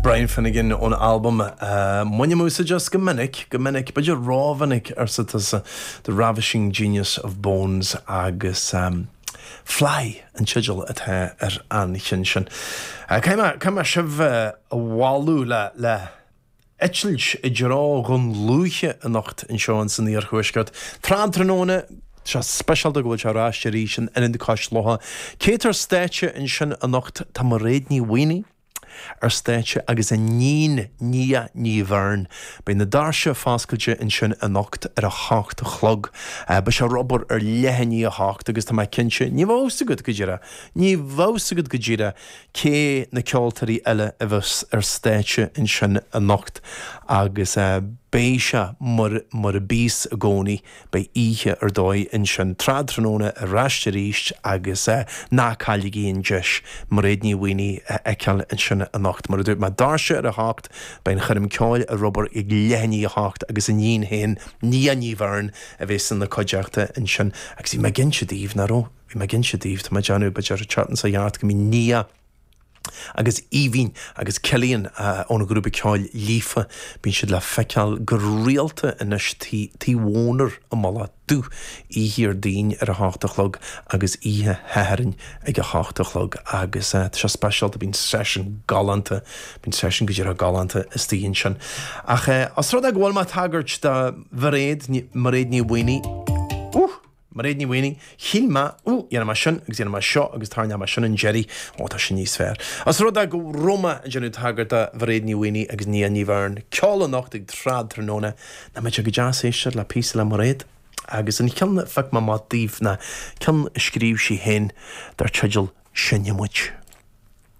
Brian Finnegan ón albam Bainim úsáid as go minic, go minic, b'fhéidir rómhinic, arsa tusa, The Ravishing Genius of Bones agus Fly an teideal atá ar an cheann sin. Caithfidh mé sibh a mhealladh le, le eitilt i dtreo Dhún Lúiche anocht anseo in san iarthuaisceart. Tráthnóna, tá sé speisialta go bhfuil sé ar ais arís in Ionad Cois Locha. Cé atá ar stáitse ansin anocht? Tá Mairéad Ní Mhaonaigh ar stáitse agus a níon Nia Ní Bheirn. Beidh na doirse foscailte ansin anocht ar a hocht a chlog. Beidh sé ar obair ar leath i ndiaidh a hocht agus tá mé cinnte, ní bheadh fhios agat go díreach, ní bheadh fhios agat go díreach cé na ceoltóirí eile a bheas ar stáitse ansin anocht agus beidh sé mar mar a bíos i gcónaí, beidh oíche ar dóigh ansin tráthnóna ar ais arís agus ná cailligí an deis Mairéad Ní Mhaonaigh a fheiceáil ansin anocht. Mar a dúirt mé, doirse ar a hocht, beidh an choirm ceoil ar obair ag leath i ndiaidh a hocht agus a níon féin, Nia Ní Bheirn, a bheas ina cuideachta ansin agus bhí mé ag inse daoibh, nach raibh? Bhí mé ag inse daoibh, tá mé ag déanamh, b'fhéidir, an tseachtain seo thart go mbíonn Nia agus Aoibhinn agus Cillian ón ghrúpa ceoil Líofa, bíonn siad le feiceáil go rialta anois Tigh Mhónair i Mullach Dubh, oíche Dhéardaoin ar a hocht a chlog agus oíche Shathairn ag a hocht a chlog agus tá sé speisialta, bíonn seisiún galánta, bíonn seisiún go díreach galánta istigh ansin. Ach os rud é go bhfuil mé ag tagairt do Mhairéad, Mairéad Ní Mhaonaigh, úh! Mairéad Ní Mhaonaigh, Shíl mé, Ó, dhéanfaidh mé sin agus dhéanfaidh mé seo agus tarraingeoidh mé sin an deiridh. Ó, tá sin níos fearr. Os rud é go raibh mé ag déanamh tagairt do Mhairéad Ní Mhaonaigh agus Nia Ní Bheirn, ceol anocht ag tráthnóna, nach mbeadh sé go deas éisteacht le píosa le Mairéad? Agus an ceann a phioc mé amach daoibh ná ceann a scríobh sí féin dar teideal Seinnfidh Muid.